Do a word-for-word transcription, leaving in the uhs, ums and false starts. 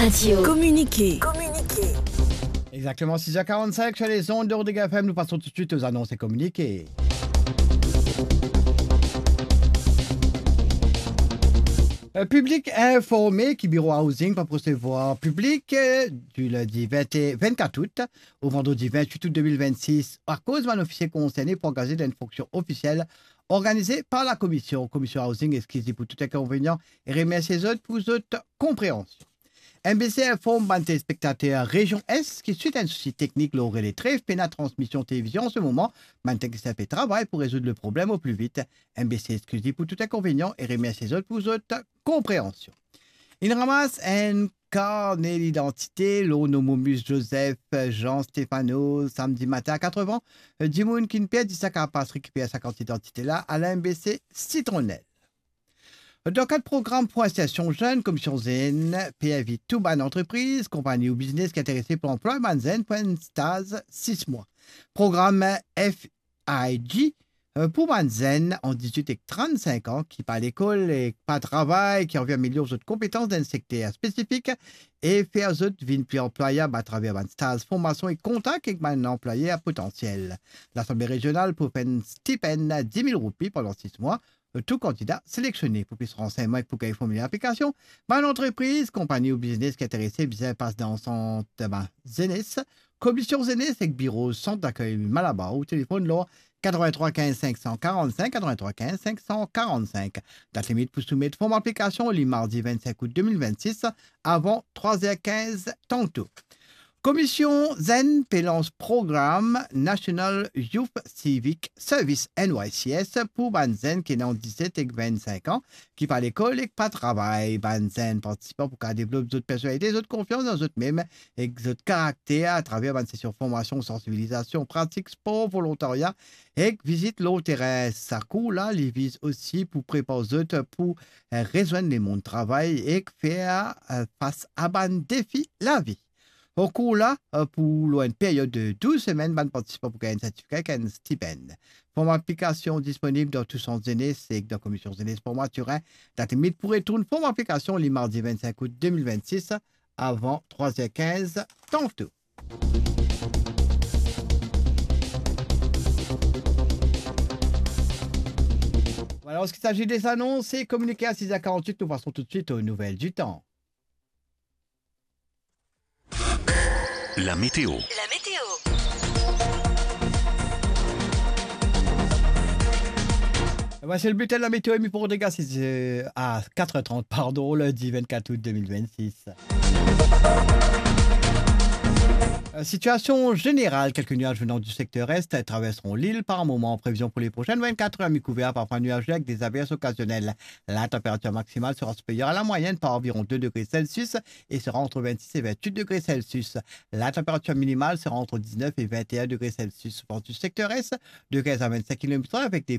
Radio. Communiqué. Communiqué. Exactement six heures quarante-cinq sur les ondes de Rodrigue F M. Nous passons tout de suite aux annonces et communiqués. Euh, piblik informe ki Biro Housing pa pou resevwar piblik, euh, di lindi vin, vinnkatr out o vandredi vintwit out de mil vennsis, akoz bann ofisie konserne pou angaze dan enn fonksion ofisiel organize par la Komision. Komision Housing exkiz li pou tou inkonvenian e remersie zot pou zot konpreansion. M B C inform bann telespektater Rezion Est ki swit enn sousi teknik lor rele Tref pena transmision televizion an se moman, bann teknisien pe travay pou rezoud le problem o pli vit. M B C exkiz li pou tou inkonvenian e remersie zot pou zot konpreansion. Inn ramas enn karne lidantite lor nom Momus Joseph Jean Stéphano samdi matin a katrevan. Dimoun ki'nn perdi sa kapav pas rekiper sa kart lidantite la a la M B C Sitronel. Dan kad program pou insersion zenn, Komision Zenn pe invit tou bann antrepriz, konpagni ou biznes ki interese pou anplway bann zenn pou enn staz sis mwa. Program F I G, euh, pou bann zenn ant dizwit ek trannsink an ki pa lekol ek pa travay, ki anvi amelior zot konpetans dan enn sekter spesifik e fer zot vinn pli anplwayab atraver bann staz formasion e kontak ek bann anplwayer potansiel. Lasanble Rezional pou fer enn stipenn dis mil roupi pandan sis mwa, tou kandida selektione. Pou plis ransegnman ek pou gagn formiler aplikasion, bann antrepriz, konpagni ou biznes ki interese bizin pas dan sant, bann zenes, Komision Zenes ek biro Sant Dakey Malabar ou telefonn lor katrevin-trwa kinz senk san karann-sink, katrevin-trwa kinz senk san karann-sink. Dat limit pou soumet form aplikasion li mardi vennsenk out de mil vennsis avan trwa zer kinz tanto. Komision Zenn pe lans program National Youth Civic Service, N Y C S, pou bann zenn ki ena ant diset ek vennsink an, ki pa lekol ek pa travay. Bann zenn partisipan pou kapav devlop zot personalite, zot konfians dan zot mem ek zot karakter atraver bann sesion formasion, sansibilizasion, pratik spor, volontarya ek vizit lor terin. Sa kour la, li viz osi pou prepar zot pou, eh, rezwenn lemond travay ek fer, eh, fas a bann defi lavi. Kour la, eh, pou lor enn period de douz semenn, bann partisipan pou gagn enn sertifika ek enn stipenn. Form aplikasion disponib dan tou sant zenes ek dan Komision Zenes Maturin. Dat limit pou retourn form aplikasion li mardi vennsenk out de mil vennsis avan trwa zer kinz tanto. Voilà, an se ki sazi de zanons e kominike a sis zer karant-wit, nou pason toutswit o nouvel ditan. La météo. La météo. Voici le bulletin de la météo, Amy Pordega, c'est, euh, à quatre heures trente, pardon, lundi vingt-quatre août deux mille vingt-six. Euh, situation générale, quelques nuages venant du secteur est traverseront l'île par moments. Prévision pour les prochaines vingt-quatre heures, mi-couvert, parfois nuageux avec des averses occasionnelles. La température maximale sera supérieure à la moyenne par environ deux degrés Celsius et sera entre vingt-six et vingt-huit degrés Celsius. La température minimale sera entre dix-neuf et vingt et un degrés Celsius. Vent du secteur est de quinze à vingt-cinq kilomètres heure avec des